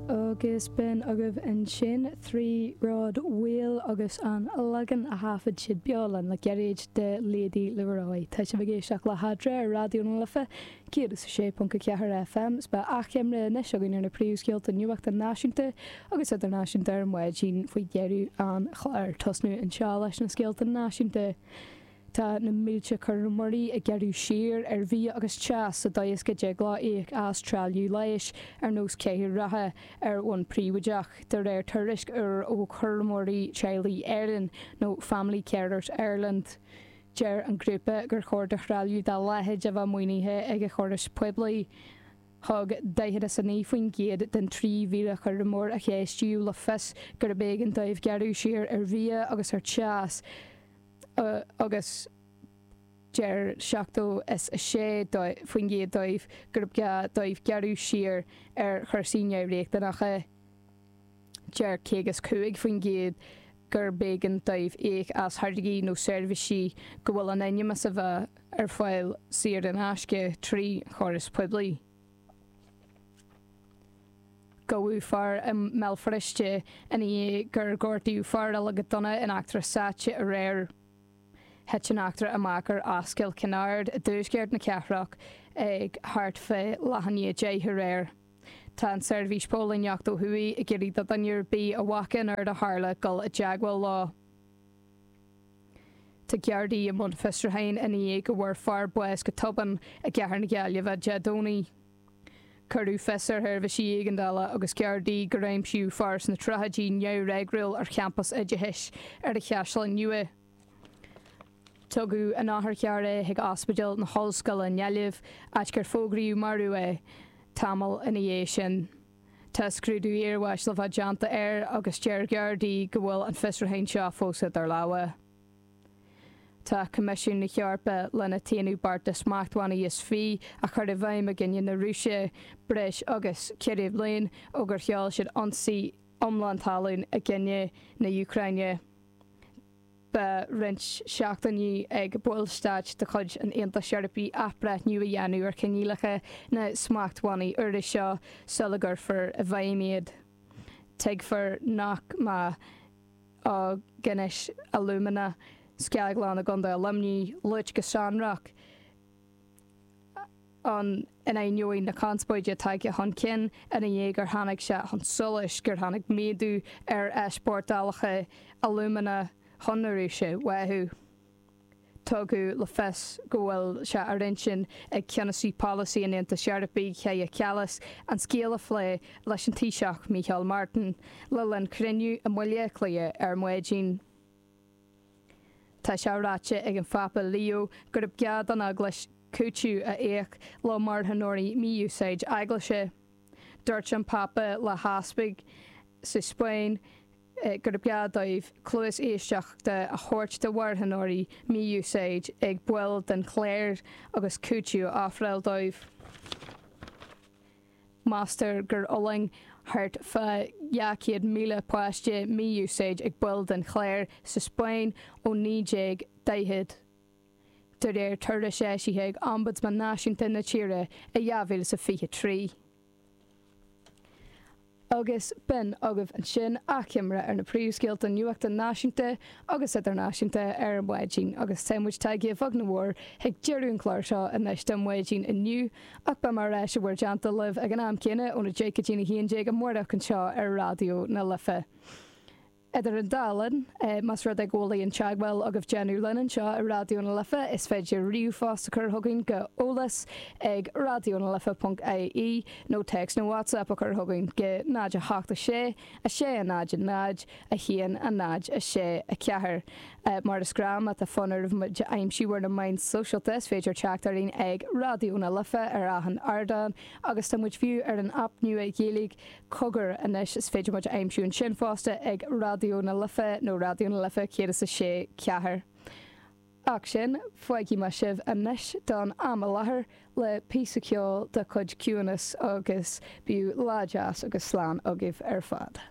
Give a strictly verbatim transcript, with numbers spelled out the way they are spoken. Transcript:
Agus b'in agaibh ansin Three Rod Wheel agus an leagan a thaifead siad beo le gairid de Lady Leroy. Tá sibh ag éisteacht le hEadra ar Raidió na Life céad is a sé ponc a ceathair FM 's beidh achoimre anois againn ar na príomhscéalta nuachta náisiúnta agus idirnáisiúnta ar maidin faoi dheireadh an chláir tosnú anseo leis na scéalta náisiúnta. Tá na mílte cúramóirí ag gearradh siar ar bhia agus teas sa dóigh is go dtig leo íoc as trealamh leighis ar nós cathaoir reatha ar bhonn príobháideach, de réir tuairisc úr ó Chúramóirí Teaghlaigh Éireann nó Family Carers Ireland. Deir an grúpa gur chóir do threalamh dá leithéid a bheith maoinithe ag an chóras poiblí. Thug daichead is a naoi faoin gcéad den trí mhíle cúramóir a ceistíodh le fios gurb éigean dóibh gearradh siar ar bhia agus ar teas. agus deir seachtó is a sé faoin gcéad dóibh gurb gá dóibh gearradh siar ar chúrsaí neamhriachtanacha. Deir caoga is cúig faoin gcéad gurb éigean dóibh íoc as tháirgí nó seirbhísí go bhfuil in ainm is a bheith ar fáil saor in aisce trí chóras poiblí. Gabhadh fear i mBéal Feirste ina dhiaidh gur gortaíodh fear eile go dona in eachtra sáite aréir. Thit an eachtra amach ar Ascaill Kennard i dtuaisceart na cathrach ag thart fé leath i ndiaidh a deich aréir. Tá an tSeirbhís Póilíneachta ó thuaidh ag iarraidh do dhuine ar bith a bhfaca an rud a tharla dul i dteagmháil leo. Tá Gardaí i mbun fiosrúcháin ina dhiaidh go bhfuair fear bás go tobann i gcathair na Gaillimhe Dé Domhnaigh. Cuireadh fios ar sheirbhísí éigeandála agus Gardaí gur aimsíodh fear sna tríochaidí neamhfhreagrúil ar champas oideachais ar an Chaisleán Nua. Tugadh in otharcharr é chuig Ospidéal na hOllscoile i nGaillimh, áit gur fógraíodh marbh é tamall ina dhiaidh sin. Tá scrúdú iarbháis le bheith déanta air agus deir Gardaí go bhfuil an fiosrúchán seo fós idir lámha. Tá Coimisiún na hEorpa lena t-aonú bearta smachtbhannaí is fiche a chur i bhfeidhm i gcoinne na Rúise breis agus ceithre bliain ó gur sheol siad ionsaí iomlán talún i gcoinne na hÚcráine. Beidh roinnt seachtainí ag ballstáit de chuid an Aontais Eorpaigh athbhreithniú a dhéanamh ar choinníollacha na smachtbhannaí úra seo sula gcuirfear i bhfeidhm iad. Tuigfear nach mbeidh á gCinis Alumina Scaglann i gContae Luimnigh luaite go sonrach ann in ainneoin na conspóide tagtha chun cinn ina dhiaidh gur tháinig sé chun solais gur tháinig méadú ar easpórtálacha alúmana chun na Rúise uathu. Tugadh le fios go bhfuil sé ar intinn ag ceannasaí polasaí an Aontais Eorpaigh Kaja Kallas an scéal a phlé leis an Taoiseach Micheál Martin le linn cruinniú i mBaile Átha Cliath ar maidin. Tá sé ráite ag an Phápa Leo gurb gá don Eaglais cúiteamh a íoc le marthanóirí mí-úsáid eaglaise. Dúirt an Pápa le heaspaig sa Spáinn gurb gá dóibh cluas éisteachta a thabhairt do mharthanóirí mí-úsáid ag baill den chléir agus cúiteamh a ofráil dóibh. Meastar gur fhulaing thart fá dhá chéad míle páiste mí-úsáid ag baill den chléir sa Spáinn ó naoi déag daichead, de réir tuairisc eisithe ag Ombudsman Náisiúnta na tíre i dhá mhíle is a fiche trí. Agus b'in agaibh ansin achoimre ar na príomhscéalta nuachta náisiúnta agus idirnáisiúnta ar maidin agus tá muid tagtha a bheag nó a mhór chuig deireadh an chláir seo anois don mhaidin inniu ach beidh mé ar ais i bhur dteannta libh ag an am céanna óna deich go dtí a haon déag amárach anseo ar Raidió na Life. Idir an dá linn, más rud é go bhfuil aon teagmháil agaibh déanamh linn anseo i Raidió na Life, is féidir ríomhphost a chur chugainn go eolas ag raidionalife ponc ie nó téacs nó WhatsApp a chur chugainn go náid a hocht a sé, a sé a náid a náid, a haon a náid a sé a ceathair. Mar is gnáth, má tá fonn oraibh muid a aimsiú ar na meáin sóisialta, is féidir teacht orainn ag Raidió na Life ar achan ardán agus tá muid fiú ar an aip nua Ghaeilge Cogar anois, is féidir muid a aimsiú ansin fosta ag Raidió na Life nó Raidió na Life céad is a sé ceathair. Ach sin, fágfaidh mé sibh anois don am i láthair le píosa ceoil de chuid Ciúnas agus bíodh lá deas agus slán agaibh ar fad.